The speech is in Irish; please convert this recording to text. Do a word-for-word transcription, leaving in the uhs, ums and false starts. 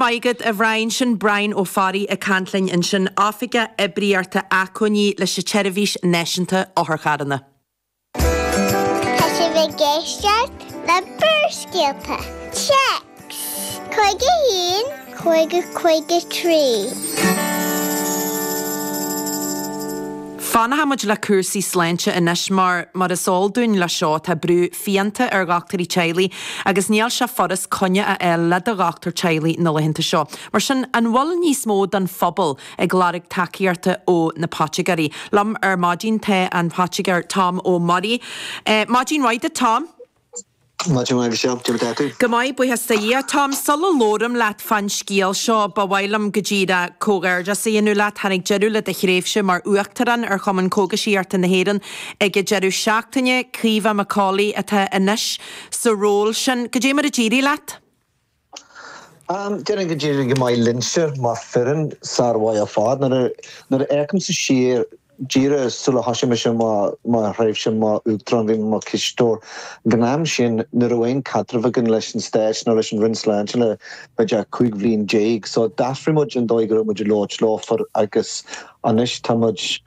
Maith agat a Bhriain sin Brian Ó Fearraigh ag caint linn ansin Oifigeach Oibríochta Acmhainní leis an tSeirbhís Náisiúnta Otharcharranna. Tá sibh ag éisteacht le Barrscéalta. Téacs Cúig a haon cúig cúig a trí. Fanfaidh muid le cúrsaí sláinte anois mar, mar is eol dúinn le seo, tá brú fiánta ar dhochtúirí teaghlaigh agus níl sé furast coinne a fháil le do dhochtúir teaghlaigh na laethanta seo. Mar sin, an bhfuil níos mó den phobal ag lorg tacaíochta ó na poitigéirí? Liom ar maidin tá an poitigéir Tom Ó Muirí. Maidin mhaith duit Tom. Maidin mhaith Michelle, cad é mar atá tú? Go maith, buíochas do Dhia. Tom, sula labhraim leat fán scéal seo, ba mhaith liom go díreach comhghairdeas a dhéanamh leat. Tháinig deireadh le do thréimhse mar Uachtarán ar Chumann Cógaisíochta na hÉireann ag an deireadh seachtaine. Caoimhe McAuley atá anois sa ról sin. Cad é mar a d'éirigh leat? Déarfainn go d'éirigh go maith linnse mar foireann, sármhaith ar fad. Nuair a fhéachaimse siar díreach sula thosaigh mise mo thréimhse mar Uachtarán, bhí mé mar chisteoir. Ag an am sin, ní raibh aon caidreamh againn leis an Stát ná leis an Roinn Sláinte le b'fhéidir cúig bhliain déag. So d'athraigh muid an dóigh go raibh muid ag labhairt leofa agus anois tá muid